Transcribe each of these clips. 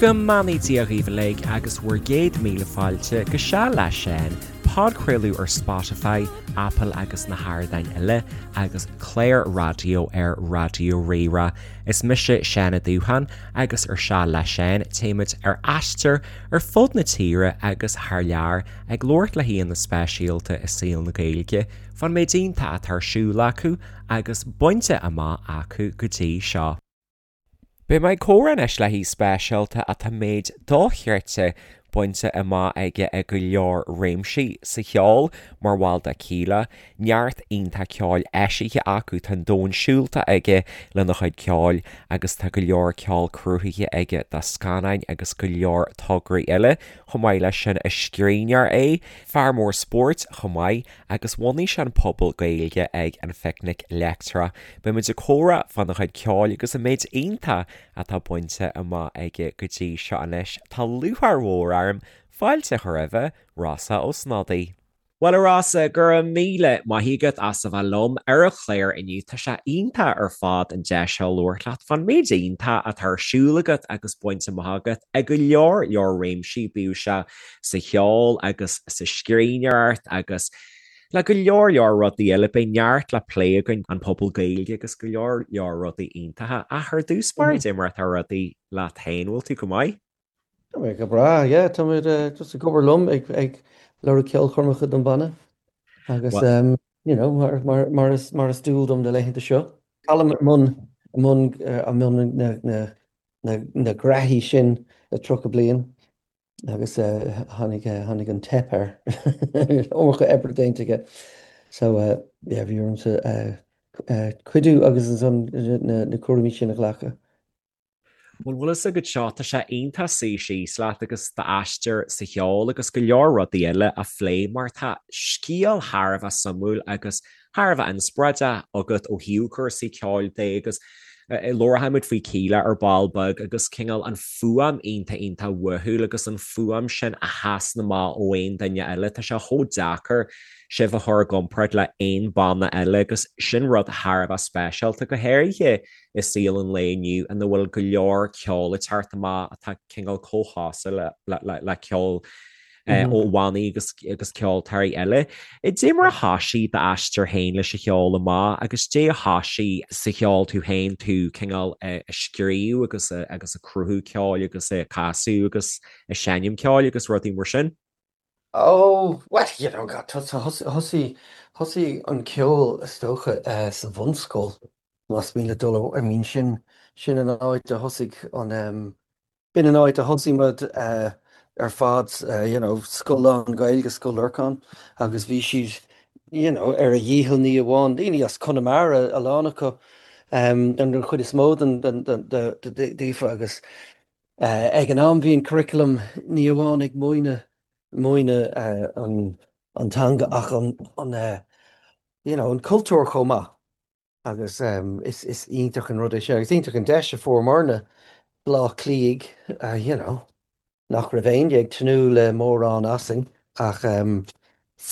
Go mbeannaí Dia dhaoibh uilig agus bhur gcéad míle fáilte go Seal le Seán, podchraoladh ar Spotify, Apple agus na hardáin eile, agus clár raidió ar Raidió Rí-Rá. Is mise Seán Ó Dúcháin agus ar Seal le Seán téimid ar aistear ar fud na tíre agus thar lear ag labhairt le haíonna speisialta i saol na Gaeilge fán méid iontach atá ar siúl acu agus bainte amach acu go dtí seo. Beidh mé ag comhrá anois le haoi speisialta atá méid dochreidte bainte amach aige i go leor réimsí sa cheol mar bhall de Kíla, neart iontach ceoil eisithe acu, tá an domhan siúlta aige lena chuid ceoil agus tá go leor ceol cruthaithe aige do scannáin agus go leor tograí eile. Chomh maith leis sin is scríbhneoir é, fear mór spóirt chomh maith agus bhunaigh sé an puball Gaeilge ag an Phicnic Leictreach. Beidh muid ag comhrá fána chuid ceoil agus an méid iontach atá bainte amach aige go dtí seo anois. Tá lúcháir mhór orm fáilte a chur roimhe, Rossa Ó Snodaigh. Bhuel a Rossa, go raibh míle maith agat as a bheith liom ar an chlár inniu. Tá sé iontach ar fad an deis seo labhairt leat fán méid iontach atá ar siúl agat agus bainte amach agat i go leor leor réimsí, bíodh sé sa cheol agus sa scríbhneoireacht agus le go leor leor rudaí eile. Beidh neart le plé againn, an Puball Gaeilge agus go leor leor rudaí iontacha. Ach ar dtús báire, cad é mar atá rudaí leat féin, bhfuil tú go maith? Tá mé go breá, yeah, tá mé just ag obair liom ag ag lorg ceolchoirmeacha don bhanna agus you know mar mar mar is mar is dual dom na laethanta seo. Colm i mbun i mbun i mbun na na na na graithí sin le 30 bliain. Agus tháinig, tháinig an teip air. Iomarca oibre déanta aige. So, yeah, bhí ormsa cuidiú agus ansan na cúraimí sin a ghlacadh. Bhuel, bhfuil fhios agat seo, tá sé iontach suí síos leat agus d'aistear sa cheol agus go leor rudaí eile a phlé mar tá scéal thar a bheith suimiúil agus thar a bheith inspioráideach agat ó thaobh cúrsaí ceoil de agus labharfaimid faoi Kíla ar ball beag agus cineál an fuaim iontach iontach uathúil agus an fuaim sin a sheasann amach ó aon duine eile. Tá sé chomh deacair sibh a chur i gcomparáid le aon banna eile agus sin rud thar a bheith speisialta, go háirithe i saol an lae inniu ina bhfuil go leor ceol ag teacht amach atá cineál chomh cosúil le ceol ó bhannaí agus agus ceoltóirí eile. Dé mar a thoisigh d'aistear féin leis an cheol amach agus dé a thoisigh sa cheol tú féin, tú cineál ag scríobh agus agus ag cruthú ceoil agus ag casadh agus ag seinm ceoil agus rudaí mar sin? Oh, well, you know, God, thosaigh thosaigh an ceol is dócha sa bhunscoil, más mian leat dul, I mean sin sin an áit a thosaigh an B'in an áit a thosaigh muid ar fad, you know, scoil lán-Ghaeilge, Scoil Lorcáin, agus bhí siad, you know, ar a dhícheall ní amháin daoine as Conamara, a lán acu, an chuid is mó den daofa agus ag an am bhí an curriculum ní amháin ag múineadh múineadh an teanga ach an, you know, an cultúr chomh maith. Agus is iontach an rud é sin, agus iontach an deis a fuaireamarna, Bleá Cliathaigh, you know, nach raibh éinne ag tnúth le mórán asainn, ach go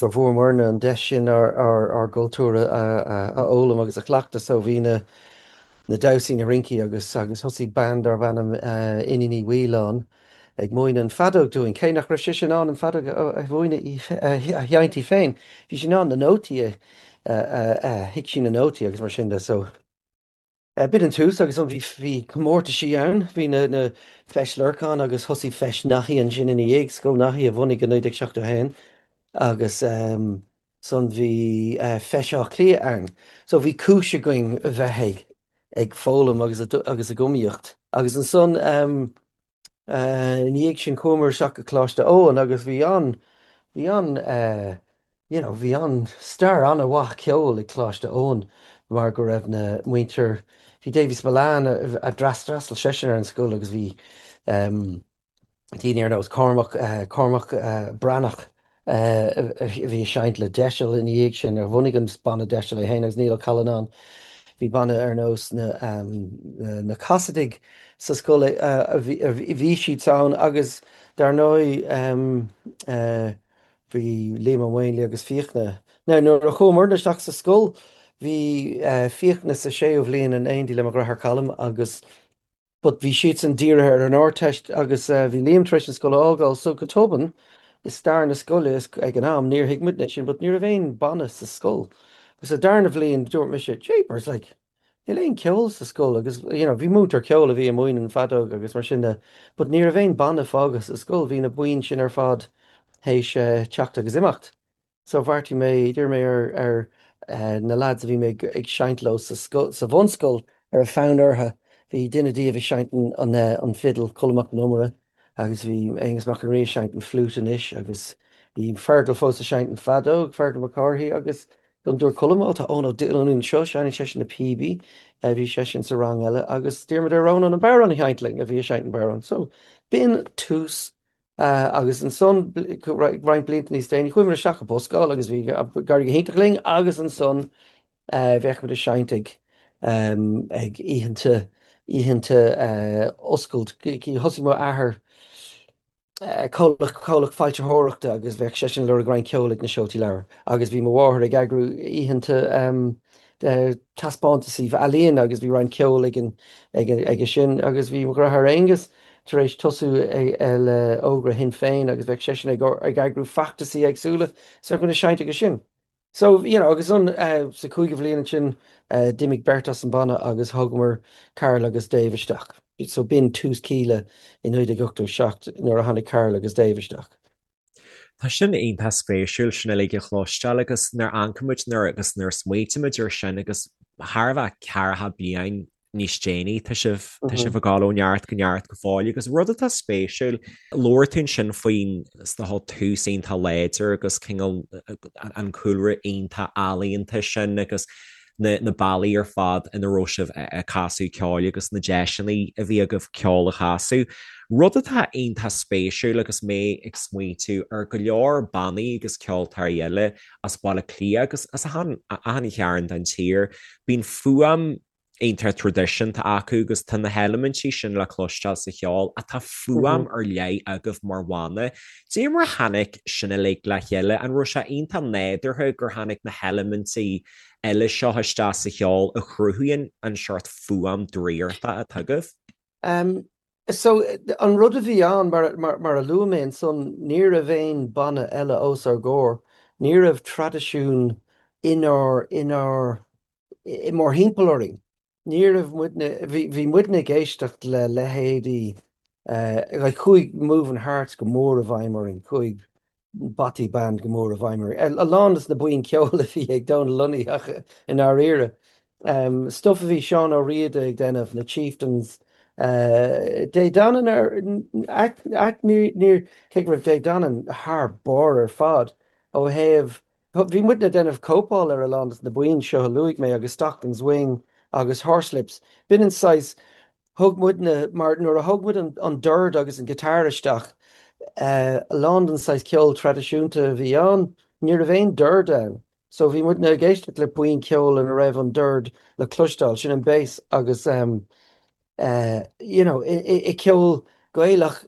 bhfuaireamarna an deis sin ár gcultúr a fhoghlaim agus a chleachtadh. So bhí na damhsaí, na rincí agus agus thosaigh bean darb ainm Iníon Uí Mhaoileáin ag múineadh an feadóg dúinn, cé nach raibh sise in ann an feadóg a mhúineadh a sheinnt í féin, bhí sí in ann na nótaí a thuig sí na nótaí agus mar sin de. So b'in an tús agus bhí bhí comórtaisí ann, bhí na na Feis Lorcáin agus thosaigh Feis Naithí ansin ina dhiaidh, Scoil Naithí a bhunaigh i 1971 agus ansan bhí Feis Átha Cliath ann. So bhí cúis againn a bheith ag ag foghlaim agus agus ag iomaíocht. Agus ansan ina dhiaidh sin chuamar isteach go Coláiste Eoin agus bhí an, bhí an, you know, bhí an stair an-mhaith ceoil ag Coláiste Eoin mar go raibh na muintir, bhí Davy Spillane a d'fhreastail seisean ar an scoil agus bhí daoine ar nós Cormac, Cormac Breathnach a bhí ag seinnt le Deiseal ina dhiaidh sin, a bhunaigh an banna Deiseal é féin agus Niall Ó Callanáin. Bhí banna ar nós na na Casaidigh sa scoil a bhí siad ann agus dar ndóigh bhí Liam Ó Maonlaí agus Fiachna. Now nuair a chuamarna isteach sa scoil bhí Fiachna sa séú bhliain in éindí le mo dheartháir Colm agus. But bhí siadsan dírithe ar an Ardteist agus bhí Liam tar éis an scoil a fhágáil so go tobann i stair na scoile is ag an am níor thuig muidne sin but ní raibh aon banna sa scoil. Agus sa darna bhliain dúirt mise jeepers like níl aon ceol sa scoil agus you know bhí múinteoir ceoil a bhí ag múineadh an feadóg agus mar sin de but ní raibh aon banna fágtha sa scoil bhí na buíon sin ar fad théis teacht agus imeacht. So bheartaigh mé, d'iarr mé ar ar na lads a bhí mé ag seinnt leo sa scoil, sa bhunscoil, a raibh fonn orthu, bhí duine díobh ag seinnt an an fidil, Colm Mac Con Iomaire, agus bhí Aonghus Mac an Rí ag seinnt an fliúit anois agus bhí Fergal fós ag seinnt an feadóg, Fergal Mac Cárthaigh, agus don dúirt Colm, ó tá Eoin Ó Diollúin anseo, seinneann seisean na píobaí, bhí seisean sa rang eile agus d'iarr muid ar Rónán an bodhrán a sheinnt linn, a bhí ag seinnt an bodhrán. So b'in tús Agus ansan, roinnt blianta níos déanaí, chuaigh muid isteach i buscáil agus bhí ag éirí go hiontach linn agus ansan bheadh muid ag seinnt ag ag oícheanta, oícheanta oscailt. Thosaigh mo athair comhlacht, comhlacht foilsitheoireachta agus bheadh seisean ag lorg roinnt ceoil ag na seoltaí leabhar agus bhí mo mháthair ag eagrú oícheanta taispeántasaí ealaíon agus bhí roinnt ceoil ag an aige sin agus bhí mo dheartháir Aonghus tar éis tosú le Ógra Shinn Féin agus bheadh seisean ag eagrú feachtasaí éagsúla so bheadh muid ag seinnt aige sin. So, you know, agus an sa cúigiú bhliain ansin d'imigh beirt as an banna agus thógamar Karl agus Dave isteach. So b'in tús Kíla i 1987 nuair a tháinig Karl agus Dave isteach. Tá sin iontach spéisiúil sin uilig a chloisteáil agus nuair a amharcann muid nuair agus nuair a smaoitímid ar sin agus thar a bheith ceathracha bliain níos déanaí tá sibh tá sibh ag dul ó neart go neart go fóill agus rud atá spéisiúil labhair tú ansin faoin is dócha tús iontach láidir agus cineál an cúlra iontach ealaíonta sin agus na na bealaí ar fad ina raibh sibh ag casadh ceoil agus na deiseanna a bhí agaibh ceol a chasadh. Rud atá iontach spéisiúil agus mé ag smaointiú ar go leor bannaí agus ceoltóirí eile as Baile Átha Cliath agus as achan achan chearn den tír, bíonn fuaim iontach traidisiúnta acu agus tá na heilimintí sin le cloisteáil sa cheol ach tá fuaim ar leith agaibh mar bhanna. Dé mar a tháinig sin uilig le chéile? An raibh sé iontach nádúrtha gur tháinig na heilimintí eile seo isteach sa cheol a chruthaíonn an seort fuaim draíochta atá agaibh? So, an rud a bhí ann, mar, mar, mar a luaigh mé ansan, ní raibh aon banna eile os ár gcomhair, ní raibh traidisiún inár, inár, i mórthimpeall orainn. Ní raibh muidne, bhí, bhí muidne ag éisteacht le leithéidí, like chuaigh Moving Hearts go mór i bhfeidhm orainn, chuaigh Bothy Band go mór i bhfeidhm orainn. A lán des na buíon ceoil a bhí ag Dónal Lunny ach i ndáiríre. Stuff a bhí Seán Ó Riada ag déanamh, na Chieftains, Dé Danann ar, ait, níor, cé go raibh Dé Danann thar barr ar fad ó thaobh Bhí muidne ag déanamh cóipeáil ar a lán des na buíon seo a luaigh mé agus Stockton's Wing agus Horslips. B'in an saghas, thug muidne, mar nuair a thug muid an dord agus an guitar isteach, a lán den saghas ceol traidisiúnta a bhí ann, ní raibh aon dord ann. So bhí muidne ag éisteacht le buíon ceoil ina raibh an dord le cloisteáil, sin an bass agus you know i gceol Gaelach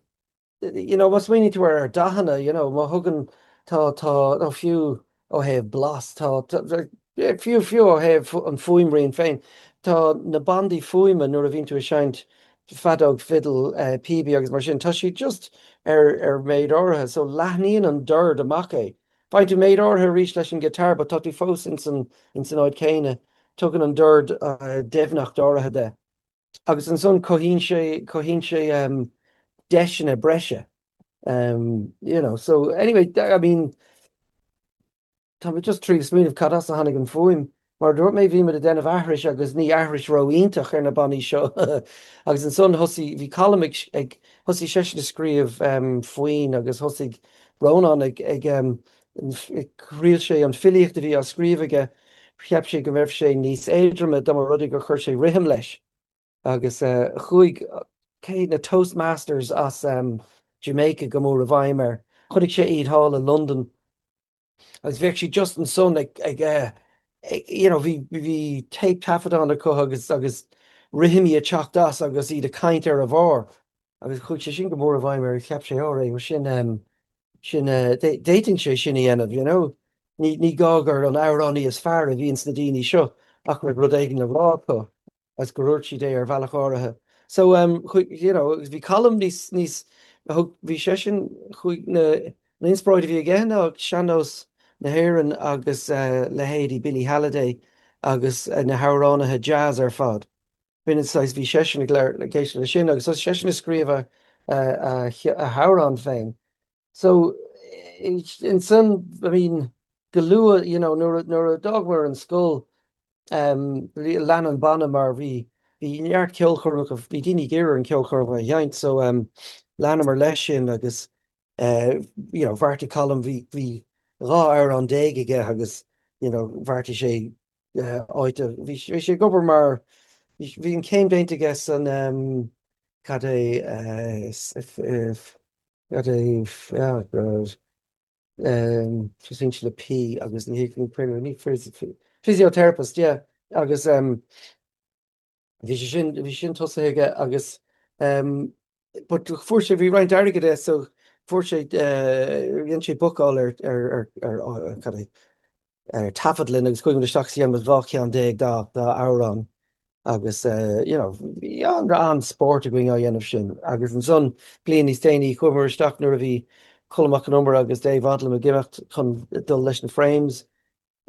you know, má smaoiníonn tú ar dathanna, you know, má thugann, tá, tá, nó fiú ó thaobh blas, tá, tá, fiú, fiú ó thaobh an fuaimrian féin, tá na bandaí fuaime nuair a bhíonn tú ag seinnt feadóg, fidil, píobaí agus mar sin, tá siad just ar, ar méid áirithe, so leathnaíonn an dord amach é. Faigheann tú méid áirithe arís leis an guitar but tá tú fós ins an, ins an áit chéanna, tugann an dord doimhneacht áirithe de. Agus ansan cothaíonn sé, cothaíonn sé deiseanna breise, you know. So anyway, I mean, tá mé just tríd smaoineamh cad as a tháinig an fuaim. Mar a dúirt mé, bhí muid ag déanamh aithris agus ní aithris ró-iontach ar na bannaí seo. Agus ansan thosaigh, bhí Colm ag, ag, thosaigh seisean ag scríobh foinn agus thosaigh Rónán ag, ag, thriail sé an filíocht a bhí á scríobh aige, cheap sé go mbeadh sé níos éadroime dá mba rud é gur chuir sé rithim leis. Agus chuaigh cé na Toastmasters as Jamaica go mór i bhfeidhm air. Chonaic sé iad thall i Londain agus bheadh siad just ansan ag, ag, you know, bhí, bhí téip taifeadán acu agus, agus rithimí ag teacht as agus iad ag caint ar a bharr. Agus chuaigh sé sin go mór i bhfeidhm air, cheap sé, ó, ré, sin, sin, d'fhéadfainn sé sin a dhéanamh, you know. Ní, ní gá gur an amhránaí is fearr a bhíonn sna daoine seo ach go raibh rud éigin le rá acu agus gur dhúirt siad é ar bhealach áirithe. So um chuaigh you know agus bhí Colm níos níos thug bhí seisean chuaigh na an inspioráid a bhí aige ná sean-nós na hÉireann agus eh leithéidí Billie Holiday agus eh na hamhránaithe jazz ar fad. B'in an saghas bhí seisean ag labhairt ag éisteacht leis sin agus thosaigh seisean ag scríobh a a a a hamhrán féin. So ansan I mean go luath you know nuair a nuair a d'fhágamar an scoil um lean an banna mar bhí bhí neart ceolchoirmeacha bhí daoine ag iarraidh an ceolchoirmeacha a sheinnt so um leanamar leis sin agus eh you know bheartaigh Colm bhí bhí 12 amhrán aige agus you know bheartaigh sé eh áit a bhí bhí sé ag obair mar bhí bhí an céim déanta aige san um cad é eh Cad é God tosaíonn sé le P agus ní ní ní physiotherapist yeah agus bhí sé sin bhí sin tosaithe aige agus but fuair sé bhí roinnt airgid aige so fuair sé dhein sé bookáil ar ar ar ar cad é ar taifeadlann agus chuaigh muid isteach is dhein muid 12 cheann dá dá amhrán agus you know bhí an-spórt againn á dhéanamh sin agus ansan bliain níos déanaí chuamar isteach nuair a bhí Colm Mac Con Iomaire agus Dave Odlum ag imeacht chun dul leis na Frames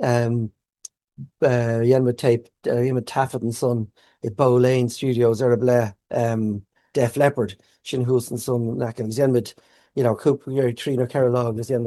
um, dhein muid tape dhein muid taifead ansan i Bow Lane Studios ar a ble um, Def Leppard sin thuas ansan agus dhein muid you know, cúpla trí nó ceithre lá agus dhein.